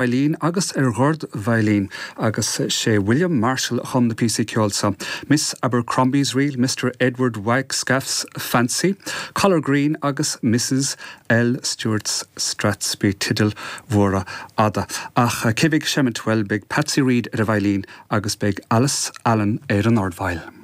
Veidhlín agus ar dhordveidhlín agus sé William Marshall a chum na píosaí ceoil seo, Miss Abercrombie's Reel, Mister Edward Wagstaff's Fancy, Collar Green agus Mrs L. Stewart's Strathspey, teidil mhóra fhada. Ach cé bheidh ag seimint? Bhuel, beidh Patsy Reid ar an veidhlín agus beidh Alice Allen ar an ardfheidhil.